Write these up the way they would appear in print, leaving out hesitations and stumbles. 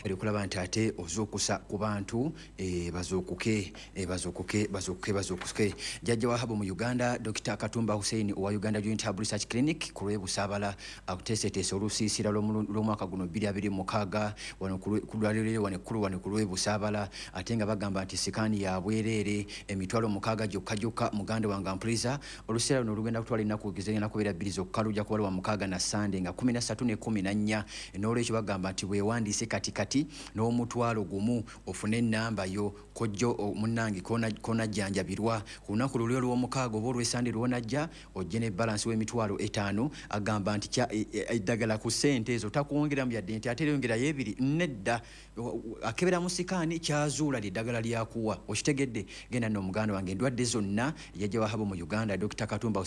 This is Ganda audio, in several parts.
Eri okulaba nti ate ozuukusa ku bantu, bazuukuke, bazuukuke, bazuukuke, bazuukuke. Jjajja wa herbal mu Uganda, Dr Katumba Hussein owa Uganda Joint Herbal Research Clinic ku lw'Ebusaabala, akuteeseteese olusiisira lw'omwaka guno 2026 wano ku ddwaliro wano ekkulu wano ku lw'Ebusaabala, ate nga bagamba nti scan ya bwereere, 60,000 gyokka gyokka. Muganda wange ampuliza, oluseera luno olugenda kutwala ennaku zigenda kubeera 2 zokka, lujja kuba lwa mukaaga na Sande nga 13 ne 14. N'olwekyo bagamba nti bwewandiise kati kati n'1,000 ofune ennamba yo, kojjo munnange konajjanjabirwa ku lunaku luli olw'omukaaga oba olw'esande lwonajja, ojje ne balance w'emitwalo 50. Agamba nti eddagala ku ssente ezo takwongeramu yadde nti ate yongerayo ebiri, nedda. Akebera mu scan, kyazuula lyeddagala lyakuwa. Okitegedde? Genda nno omuganda wange, endwadde zonna jjajja wa herbal mu Uganda, Dr Katumba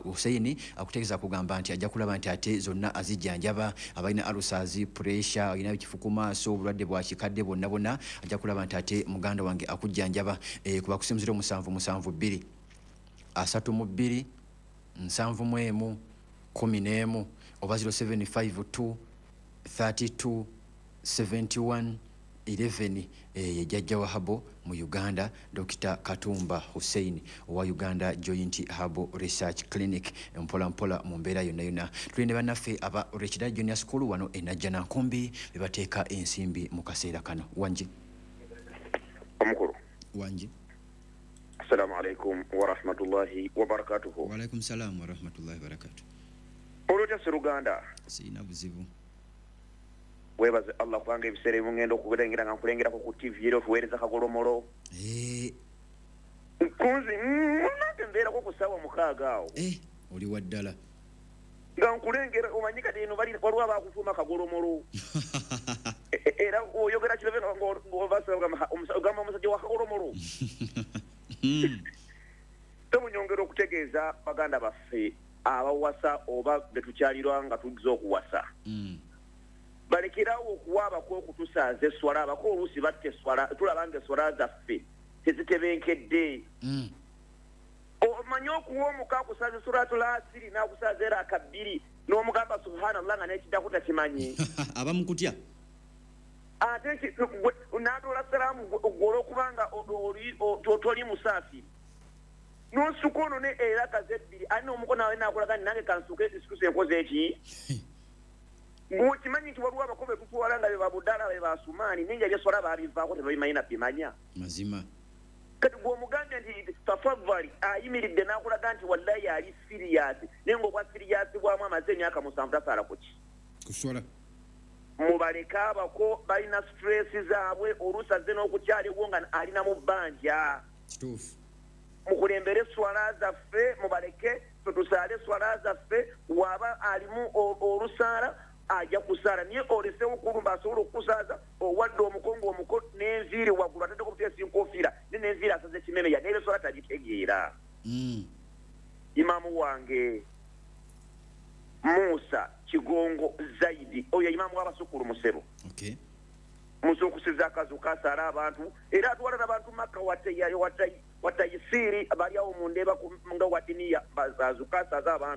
Hussein akutegeeza kugamba nti ajja kulaba nti ate zonna azijjanjaba. Abalina ulcers, pressure, alina ekifu ku maaso, obulwadde bwa kikadde, bwonna bwonna ajja kulaba nti ate muganda wange akujjanjaba. Kuba kusimu 0772 32 71 11 oba 0752 32 71 11. Ye jjajja wa herbal mu Uganda, Dr Katumba Hussein owa Uganda Joint Herbal Research Clinic. Mpola mpola mu mbeera yonna yonna, tuli ne bannaffe aba Rekida Junior School wano e Najjanankumbi, be bateeka ensimbi mu kaseera kano. Wangi? Omukulu. Wangi. Assalamu alaikum warahmatullahi wabarakatuhu. Waalaikum salaamu warahmatullahi wabarakatu. Olwotya seruganda? Sirina buzibu. Webaze Allah, kubanga ebiseera ebimu ngenda okulengera nga nkulengerako ku TV era otuweereza kagolomolo. Kunzi nange mbeerako ku ssaawa 6 awo. Oli wa ddala. Nga nkulengera, omanyi kati eno waliwo abakutuuma kagolomolo. Era oyogera kirebe ogamba omusajja wa kagolomolo. Temunyongera okutegeeza baganda baffe abawasa oba betukyalirwa nga tujja okuwasa, balekerawo okuwa abako okutusaaza eswala. Abako oluusi batta eswala, tulaba nga eswala zaffe tezitebenkedde. Omanyi okuwa omuka akusaaza suratul asiri n'akusaaza era akabbiri n'omugamba subhanallah nga n'ekiddako takimanyi. Abamukutya. Ate n'atoola salaamu gwe olwokubanga toli musaafiri n'osuka ono ne era kaze ebbiri alina omukono awe nakulaga nti nange kansuke nsituse enkoze eki. Ng'okimanyi nti waliwo abako be tutwala nga be babuddala, be basumaani, naye nga ebyeswala babivaako, tebabimanyi nabimanya. Mazima. Kati gweomugambye nti tafadhali, ayimiridde n'akulaga nti wallayi ali serious, naye ng'obwa serious bwamu amaze emyaka 7 tasaala kuki? Kuswala. Mubaleke abako, balina stress zaabwe, oluusi azze n'okukyaliwo nga alina mu bbanja. Kituufu. Mukulembere eswala zaffe, mubaleke tutusaale eswala zaffe. Waba alimu olusaala ajja kusaala, naye olesewo kulumba asobola okukusaaza owadde omuko ng'omuko n'enviiri waggulu ataddeko buteesi nkofiira ne n'enviiri asaze ekimemeya n'ebeswala tagitegeera. Imaamu wange Musa Kigongo Zaidi, oyo imaamu w'abasukulu musebo. Muzuukusiza akazu kasaala abantu, era atwala n'abantu Makka watayisiiri bali awo mu ndeeba nga wadiniya bazuukasaaza abantu.